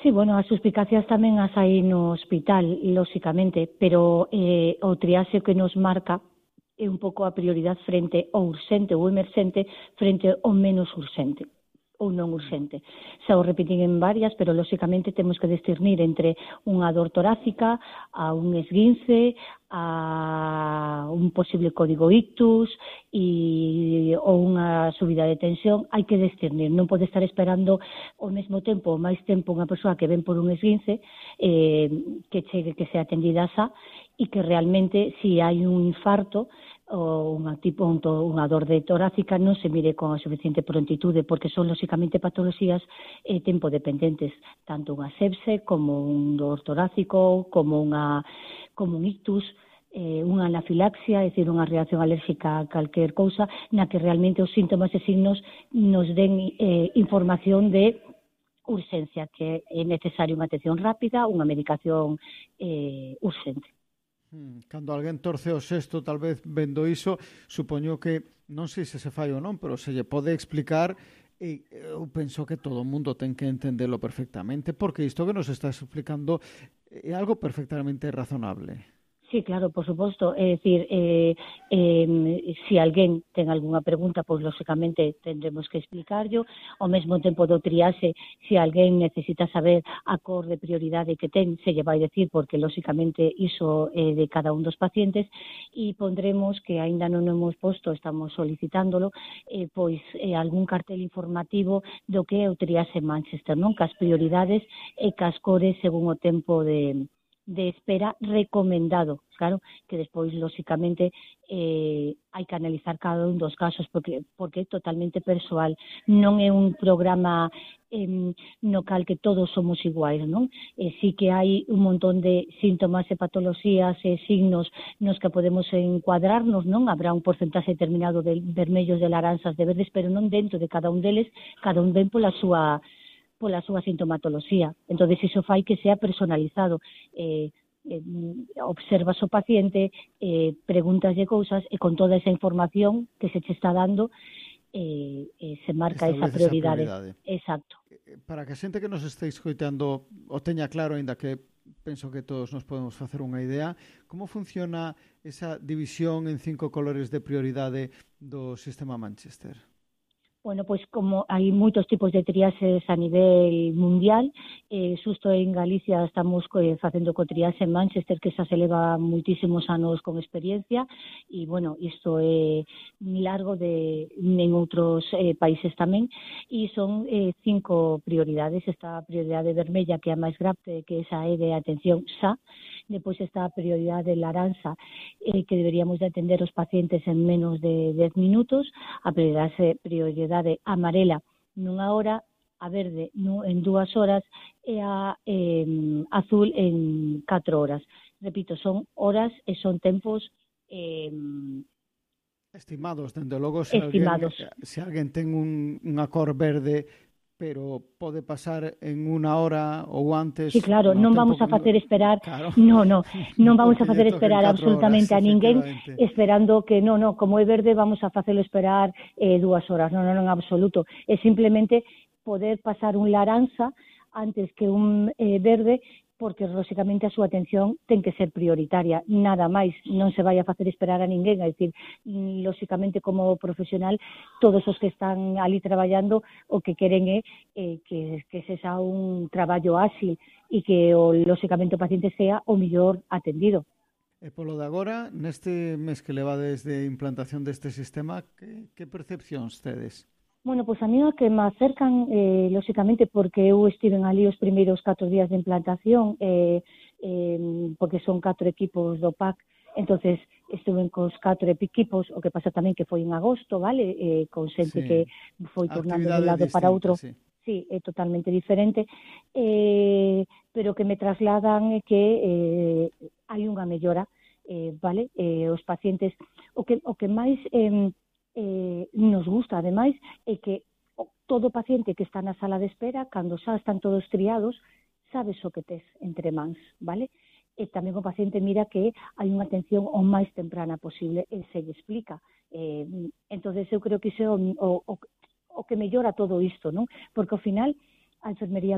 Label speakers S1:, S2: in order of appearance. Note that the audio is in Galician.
S1: Sí, bueno, as suspicacias tamén as hai no hospital, lóxicamente, pero o triaxe que nos marca é un pouco a prioridade frente ao urxente ou emerxente frente ao menos urxente ou non urxente. Xa o repetín en varias, pero lóxicamente temos que discernir entre unha dor torácica, a un esguince, a un posible código ictus ou unha subida de tensión. Hai que discernir, non pode estar esperando ao mesmo tempo ou máis tempo unha persoa que ven por un esguince que chegue, que sea atendida xa, e que realmente, se hai un infarto ou unha dor de torácica, non se mire con a suficiente prontitude, porque son lóxicamente patoloxías tempo dependentes, tanto unha sepse como un dor torácico, como un ictus, unha anafilaxia, é dicir, unha reacción alérxica a calquer cousa, na que realmente os síntomas e signos nos den información de urxencia, que é necesaria unha atención rápida, unha medicación urxente.
S2: Cando alguén torce o xesto, tal vez vendo iso, supoño que, non sei se fai ou non, pero se lle pode explicar, e eu penso que todo o mundo ten que entendelo perfectamente, porque isto que nos estás explicando é algo perfectamente razonable.
S1: Sí, claro, por suposto. É dicir, se alguén ten algunha pregunta, pois lóxicamente tendremos que explicarlo. Ao mesmo tempo do triaxe, se alguén necesita saber a cor de prioridade que ten, se lle vai decir, porque lóxicamente iso é de cada un dos pacientes, e pondremos, que aínda non hemos posto, estamos solicitándolo, pois algún cartel informativo do que é o triaxe Manchester, non? Cas prioridades e cas cores según o tempo de espera recomendado, claro, que despois, lóxicamente, hai que analizar cada un dos casos, porque é totalmente persoal, non é un programa no cal que todos somos iguais, non? Sí que hai un montón de síntomas e patoloxías e signos nos que podemos encuadrarnos, non? Habrá un porcentaxe determinado de vermellos, de laranxas, de verdes, pero non dentro de cada un deles, cada un ven pola súa sintomatoloxía. Entón, iso fai que sea personalizado. Observas o paciente, pregúntaslle cousas e con toda esa información que se che está dando se marca esa prioridade. Exacto.
S2: Para que a xente que nos este escoitando o teña claro, aínda que penso que todos nos podemos facer unha idea, como funciona esa división en 5 colores de prioridade do sistema Manchester?
S1: Bueno, pois como hai moitos tipos de triaxes a nivel mundial, xusto en Galicia estamos facendo co triaxe en Manchester, que xa se leva moitísimos anos con experiencia, e, bueno, isto é largo en outros países tamén, e son 5 prioridades. Está a prioridade vermella, que é a máis grave, que esa é de atención xa. Depois está a prioridade laranxa, que deberíamos de atender os pacientes en menos de 10 minutos, a prioridade amarela nunha hora, a verde en 2 horas e a azul en 4 horas. Repito, son horas e son tempos
S2: estimados, dende logo, se alguén ten unha cor verde, pero pode pasar en 1 hora ou antes.
S1: Sí, claro, non vamos a facer esperar, claro. non vamos a facer esperar absolutamente a ninguén esperando que, como é verde vamos a facelo esperar 2 horas, non, en absoluto. É simplemente poder pasar un laranxa antes que un verde, porque, lóxicamente, a súa atención ten que ser prioritaria, nada máis, non se vai a facer esperar a ninguén, é dicir, lóxicamente, como profesional, todos os que están ali traballando, o que queren é que se xa un traballo áxil e que, lóxicamente, o paciente sea o mellor atendido.
S2: E polo de agora, neste mes que levades de implantación deste sistema, que percepcións tedes?
S1: Bueno, pois a mí o que me acercan, lóxicamente, porque eu estiven ali os primeiros 4 días de implantación, porque son 4 equipos do PAC, entonces estuven cos 4 equipos, o que pasa tamén que foi en agosto, vale? Con xente que foi turnando de un lado para outro. Sí, é totalmente diferente, pero que me trasladan que hai unha mellora, vale? Os pacientes, o que máis nos gusta, ademais, é que todo paciente que está na sala de espera, cando xa están todos triados, sabes o que tes entre mans, vale? E tamén o paciente mira que hai unha atención o máis temprana posible e se lle explica. Entonces eu creo que iso é o que mellora todo isto, non? Porque ao final a enfermería